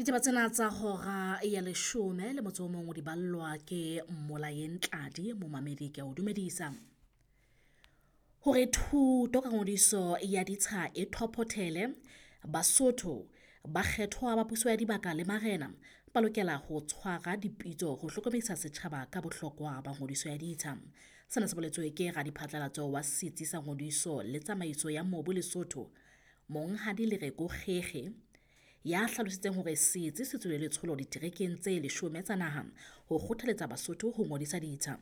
Ditaba tsena tsa hora ya leshome le motso o mong o di ballwa ke Mmolayeng Tladi, momamedi ke a o dumedisa. Hore thuto ka ngodiso ya ditsha e thophothele, Basotho, bakgethwa ba puso ya dibaka le marena ba lokela ho tshwara dipitso ho hlokomedisa setjhaba ka bohlokwa ba ngodiso ya ditsha. Sena se boletswe ke radiphatlalatso wa Setsi sa Ngodiso le Tsamaiso ya Mobu Lesotho, Monghadi Lereko Kgekge, ya hlalositseng hore setsi se tswile letsholo diterekeng tse leshome tsa naha ho kgothaletsa Basotho ho ngodisa ditsha.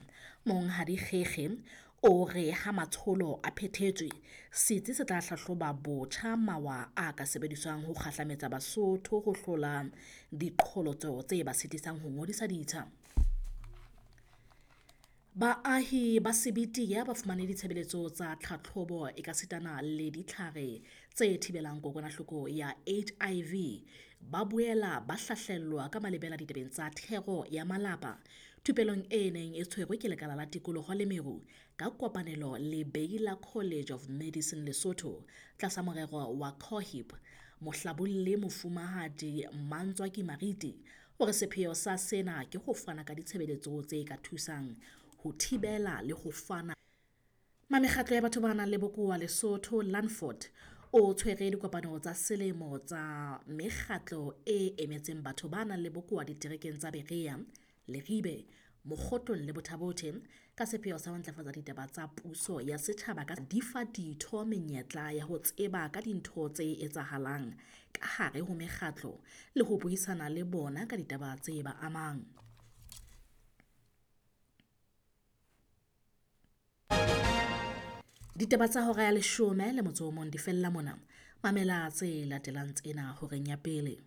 Monghadi Kgekge o re ha matsholo a phethetswe, setsi se tla hlahloba botjha mawa a ka sebediswang ho kgahlametsa Basotho ho hlola diqholotso tse ba sitisang ho ngodisa ditsha. Baahi ba Sebetiya ba fumane ditshebeletso tsa tlhatlhobo ekasitana le ditlhare tse thibelang kokwanahloko ya HIV. Ba boela ba hlahlellwa ka malebela ditabeng tsa thero ya malapa thupelong e neng e tshwerwe ke Lekala la Tikoloho le Meru ka kopanelo le Baylor College of Medicine Lesotho tlasa morero wa COHIP. Mohlabolli Mofumahadi Mmantswaki Mariti o re sepheo sa sena ke ho fana ka ditshebeletso tse ka thusang ho thibela le ho fana. Mamekgatlo ya batho ba nang le bokowa Lesotho Landford o tshwere dikopano tsa selemo tsa mekgatlo e emetseng batho ba nang le bokowa diterekeng tsa Berea, Leribe, Mokgotlong le Botha-Bothe ka sepheo sa ho ntlafatsa ditaba tsa puso ya setjhaba ka di fa ditho menyetla ya ho tseba ka dintho tse etsahalang ka hare ho mekgatlo le ho buisana le bona ka ditaba tse ba amang. Ditaba tsa hora ya leshome le motso o mong di fella mona. Mamela tse latelang tsena horeng ya pele.